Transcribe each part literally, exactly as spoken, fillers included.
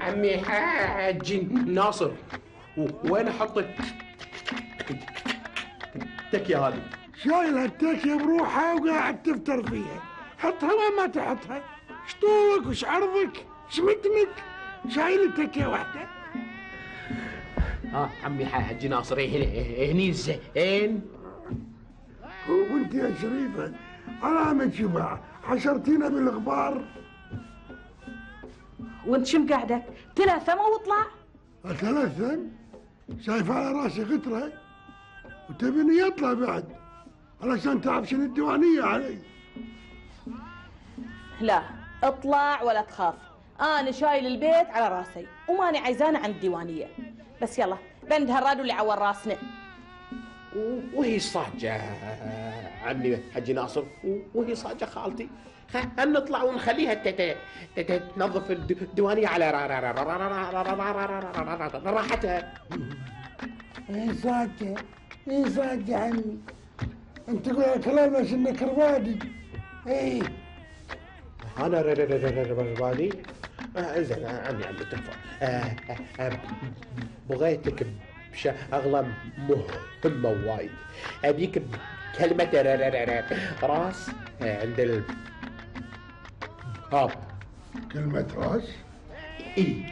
عمي حاج ناصر، وين احط التكيه هذه؟ شايل هالتكيه بروحها وقاعد تفتر فيها، حطها وين ما تحطها. ايش طولك وش عرضك ايش متنك؟ شايل التكيه واحده. ها عمي حاج ناصر هني زين. وانت يا شريفه علامة شبع حشرتينا بالغبار. وانت شم قاعدك تلثم واطلع. اتلثم؟ شايف على راسي غتره وتبيني يطلع بعد علشان تعبشن الديوانيه علي. لا اطلع ولا تخاف، انا شايل البيت على راسي وماني عايزانه عن الديوانيه. بس يلا بند هالرادو اللي عور راسنا. وهي صاجة عمي حجي ناصر، وهي صاجة خالتي. خل نطلع ونخليها تنظف الديوانية على راحتها. ايه صاجة ايه صاجة عمي، انت تقول كلام بس انك ربادي. ايه انا ربادي؟ زين عمي عمي تكفى. بغيتك بشغلة مهمة وايد، ابيك بكلمة راس عند ال ها. كلمة راس؟ اي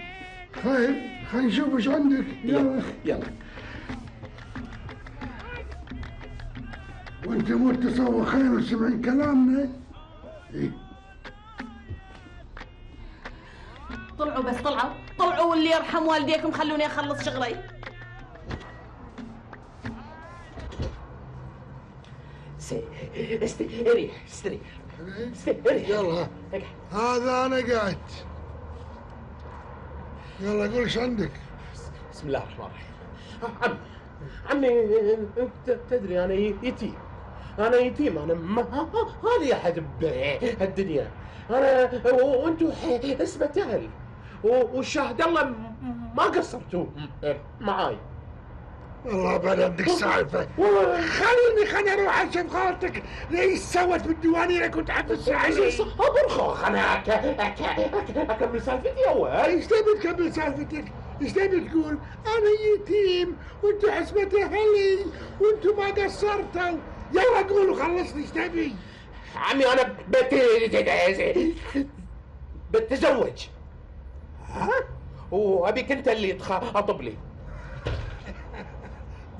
خير خلينا نشوف ايش عندك. يلا يلا. وانت متسوخين وسمعين كلامنا. ايه طلعوا بس طلعوا طلعوا واللي يرحم والديكم خلوني اخلص شغلي. استريح استريح استريح. يلا هذا انا قاعد. يلا قول ايش عندك. بسم الله الرحمن الرحيم. عمي عمي تدري انا يتيم، انا يتيم، انا ما لي احد بهالدنيا، انا وانتم اسمة اهل، والشاهد الله ما قصرتوا معاي. والله بعد عندك سالفه. خليني خليني اروح اشوف خالتك ليش سوت بالديوانيه اللي كنت حبس عليه. صبر خوخ انا اكمل سالفتي اول. ايش تبي تكمل سالفتك؟ ايش تبي تقول؟ انا يتيم وانتم حسبة اهلي وانتم ما قصرتوا. يلا قول وخلصني ايش تبي؟ عمي انا بت بتزوج. ها؟ وابيك انت اللي تخاطب لي.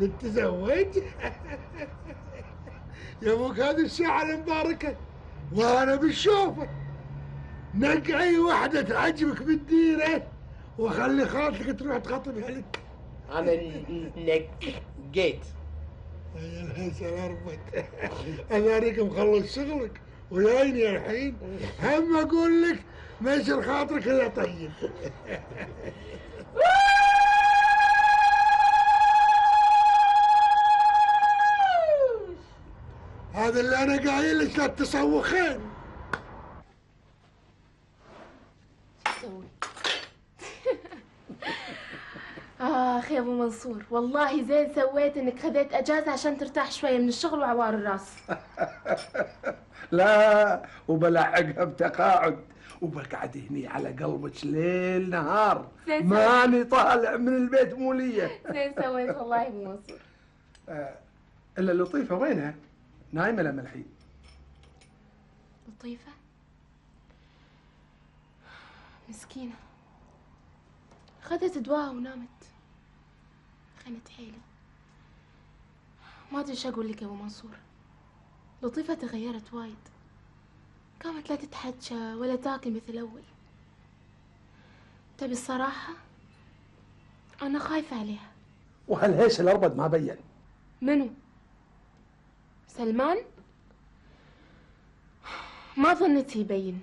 بتتزوج؟ يا ابوك هذه الساعة المباركة وانا بالشوفة. نقي اي وحدة تعجبك بالديرة وخلي خالتك تروح تخطبها لك. انا نقيت. يا الهسل اربط. انا اريك مخلص شغلك وجايني الحين هم اقول لك ما يصير خاطرك الا طيب. هذا اللي انا قايل لك لا تسوخين. اخ يا ابو منصور والله زين سويت انك خذيت اجازه عشان ترتاح شويه من الشغل وعوار الراس. لا وبلحقها بتقاعد وبقعد هني على قلبك ليل نهار ماني طالع من البيت موليه. زين سويت والله يا ابو منصور. آه الا لطيفه وينها؟ نايمه لما الحين؟ لطيفه مسكينه خذت دواء ونامت. خنت حيلي. ما ادري ايش اقول لك يا ابو منصور. لطيفه تغيرت وايد، قامت لا تتحجى ولا تاكل مثل اول. تبي الصراحه انا خايفه عليها. وهالهيش الاربد ما بين. منو؟ سلمان؟ ما ظنيت يبين.